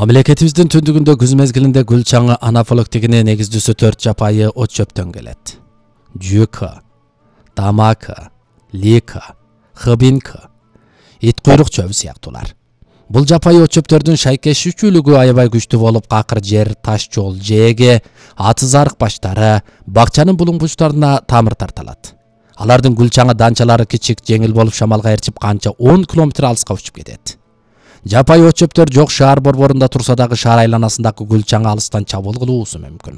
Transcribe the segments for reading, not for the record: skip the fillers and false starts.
Мамлекетибиздин түндүгүндө күз мезгилинде гүл чаңы анафилактигине негиздүүсү 4 жапайы от чөптөн келет. Жүйкө, тамакы, лика, хыбинка, ит куйрук чөбү сыяктуулар. Бул жапайы от чөптөрдүн шайкешүүчүлүгү аябай күчтүү болуп, какыр жер, таш жол, жээге, атыз арык баштары, бакчанын булуң-бучтарына тамыр тарталат. Алардын гүл чаңы данчалары кичик, жеңил болуп шамалга ээрчип канча 10 километр алыска учуп кетет. Жапайы от чөптөр жок шаар борборунда турса дагы шаар айланасындагы гүл чаңы алыстан чабуул кылуусу мүмкүн.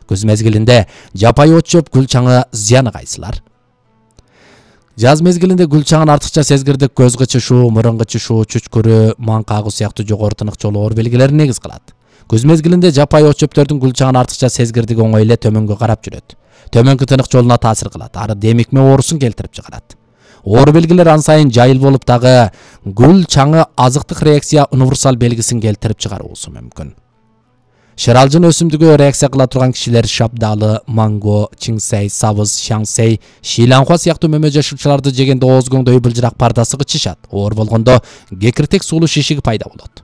Күз мезгилинде жапайы от чөп гүл чаңы зыяны кайсылар? Жаз мезгилинде гүл чаңын артыкча сезгирдик көз кычышуу, мурун кычышуу, чүчкүрүү, маң кагуу сыяктуу жогору тынык оор белгилерин негиз кылат. Күз мезгилинде жапайы от чөптөрдүн гүл чаңын артыкча сезгирдиги оңой эле төмөнгө карап жүрөт. Төмөнкү тынык жолуна таасир кылат, ары демикме оорусун келтирип чыгарат. Оор белгилер ан сайын жайыл болуп дагы гүл чаңы азыктык реакция универсал белгисин келтирип чыгаруусу мүмкүн. Шыралжын өсүмдүгү реакция кыла турган кишилер шабдалы, манго, чиңсей, сабыз, шаңсей, шийланхуа сыяктуу мөмө жашуучуларды жегенде ооз көңдөй былжырак пардасы кычышат. Оор болгондо кекиртек суулуу шишиги пайда болот.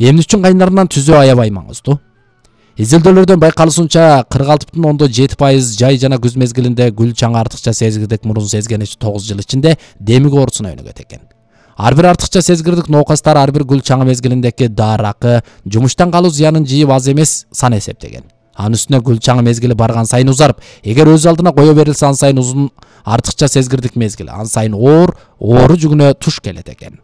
Эмнүчүн кайнарынан түзөө аябай маңыздуу. Изилдөөлөрдөн байкалышынча 46,7% жай жана күз мезгилинде гүл чаңы артыкча сезгирдик мурун сезгеничи 9 жыл ичинде демик оорусуна өнүгөт экен. Ар бир артыкча сезгирдик ноокастар ар бир гүл чаңы мезгилиндеки даракы, жумуштан калуу зыянын жыйып аз эмес сан эсептеген. Анын үстүнө гүл чаңы мезгили барган сайын узарып, эгер өз алдына кое берилсе ан сайын узун артыкча сезгирдик мезгили, ан сайын оору жүгүнө туш келет экен.